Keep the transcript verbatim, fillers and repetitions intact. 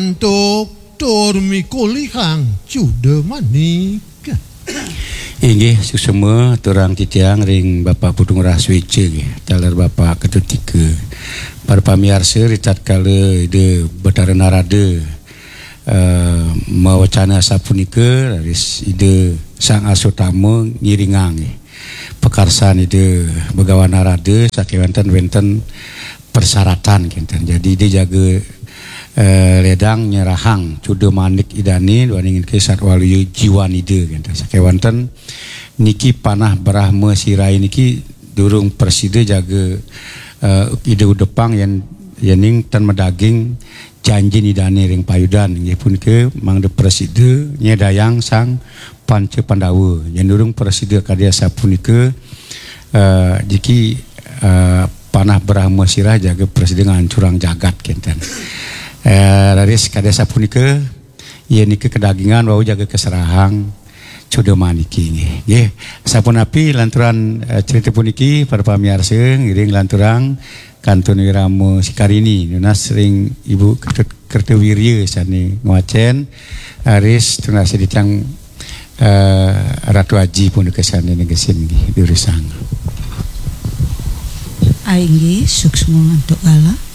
Antuk tur mikolihang cuda manik. Inggih, suksma aturang titiang ring Bapak Putu Ngurah Sueca nggih, taler Bapak Ketut Ika. Para pamiarsa, ritatkala Ida Betara Narada, eh, mawacana asapunika, raris Ida Sang Aswatama ngiringang nggih pakarsan Ida Begawan Narada, sakéwanten wénten persyaratan kénten. Jadi Ida jaga, eh, ledang nyerahang cuda manik Idané duaning ké satwaluya jiwan Ida kénten. Sakéwanten niki panah Brahma Siraha niki durung prasida jaga, eh, Ida udepang yén, yéning tan madaging janjin Idané ring payudan, inggih punika mangda prasida nyedayang Sang Panca Pandawa. Yén durung prasida kadi asapunika, eh, jiki, eh, panah Brahma Siraha jaga prasida ngancurang jagat kénten. Eh, raris kadi asapunika, yén nika kadagingan wau jaga kaserahang cuda maniki nggih. Nggih, sapunapi lanturan, eh, cerita puniki, para pamiarsa, ngiring lanturang kantun wirama Sikarini, nunas ring Ibu Kerta-, Kertawirya sané ngwacén, raris tunas titiang, eh, Ratu Aji punika sané negesin nggih, durusang. Inggih, suksma antuk kala.